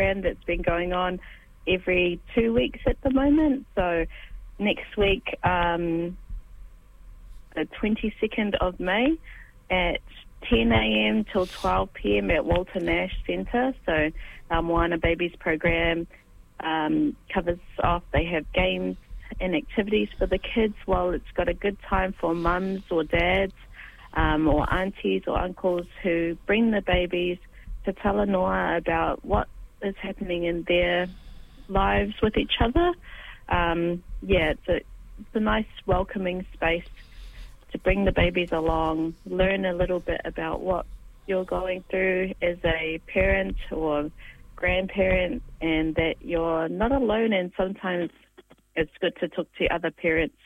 program that's been going on every two weeks at the moment. So next week, um, the 22nd of May at 10 a.m. till 12 p.m. at Walter Nash Centre. So our Moana Babies program um, covers off. They have games and activities for the kids while it's got a good time for mums or dads um, or aunties or uncles who bring the babies to talanoa about what is happening in their lives with each other. Um, yeah, it's a, it's a nice welcoming space to bring the babies along, learn a little bit about what you're going through as a parent or grandparent, and that you're not alone. And sometimes it's good to talk to other parents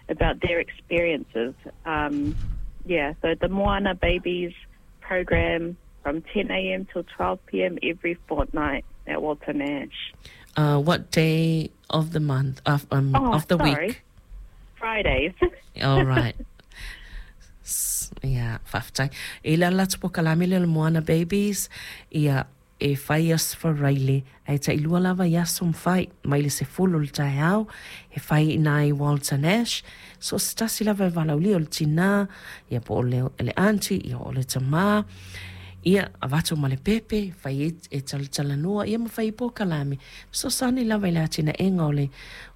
about their experiences. Um, yeah, so the Moana Babies program from 10 a.m. till 12 p.m. every fortnight at Walter Nash. Uh, what day of the month, of, um, oh, of the sorry. week? Fridays. All right. Ia, faafetai. E le ala atu polokalame lea o le Moana Babies, ia, e fai i Aso Faraile, ae tailua lava i aso ma fai, mai le 10 o le taeao, e fai i ina i Walter Nash, so o se tasi lava e valaaulia o le tinā, ia po o le, le aunty, ia o le tamā, ia, avatu ma le pepe, fai ai e talatalanoa, ia ma fai ai polokalame, fesoasoani lava i le atinaega o le,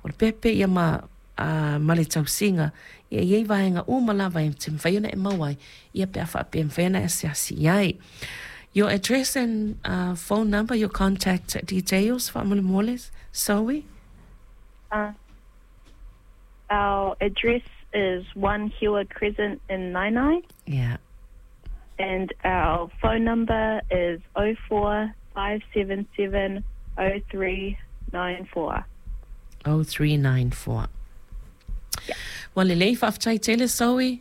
o le pepe, ia ma ā, ma le tausiga, ia e i ai vaega uma lava e te mafai ona e maua ai, ia pe a faapea e mafai ona e asiasi i ai. Your address and uh, phone number, your contact details, faamolemole, Zoe? Uh, our address is 1 Hewer Crescent in Naenae. Yeah. And our phone number is 04 577 0394. 0394. Yeah. Ua lelei, faafetai tele, Zoe.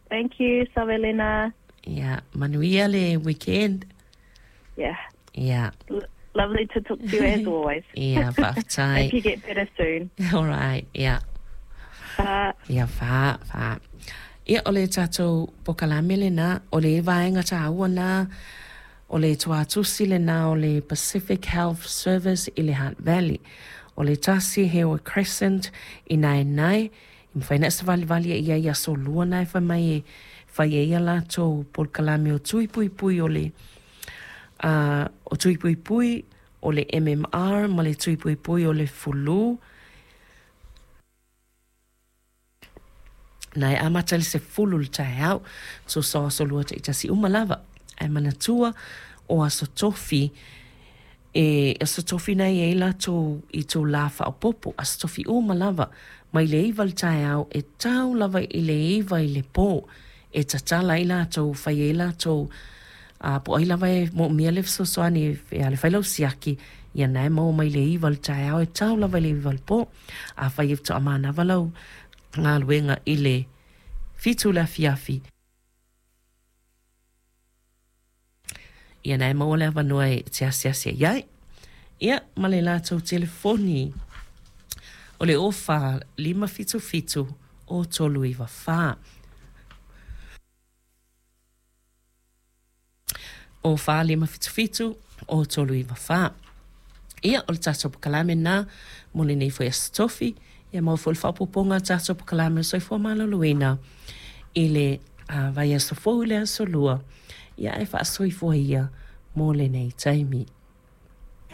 Thank you, Savelina. Yeah, manuia le weekend. Yeah. Yeah. L lovely to talk to you as always. Yeah, faafetai. Hope you get better soon. All right, yeah. Fa. Ia, fa, fa. Ia, o le tatou polokalame lenā, o le vaega taua nā, o le tuatusi lenā o le Pacific Health Service i le Hutt Valley. O le tasi Hewa Crescent i Naenae, i mafai ona e savalivali e i ai i aso lua na e fai mai e fai ai a latou polokalame o tui puipui o le a o tui puipui o le MMR ma le tui puipui o le fulu. Na e amata i le 10 le taeao, tusa o aso lua taitasi uma lava. Ae manatua o aso tofi, e aso tofi na e i ai latou i itulā faaopoopo, aso tofi uma lava, mai le 9 le taeao e tau lava i le 9 i le pō, e tatala ai latou, fai ai latou, a po o ai lava e moomia le fesoasoani e le fai lau siaki, ia na e maua mai le 9 le taeao e tau lava i le 9 le pō. Afai e faatoa manava lau galuega i le 7 le afiafi, ia na e maua le avanoa e te asiasi ai ai. Ia, ma le latou telefoni o le 04 577 o 394. O 4577 o 394. Ia, o le tatou polokalame lena mo lenei foi Aso Tofi. Ia maua foi le faaopoopoga o le tatou polokalame o le Soifua Maloloina i le vaiaso fou i le Aso Lua. Ia, ae faasoifua ia mo lenei taimi.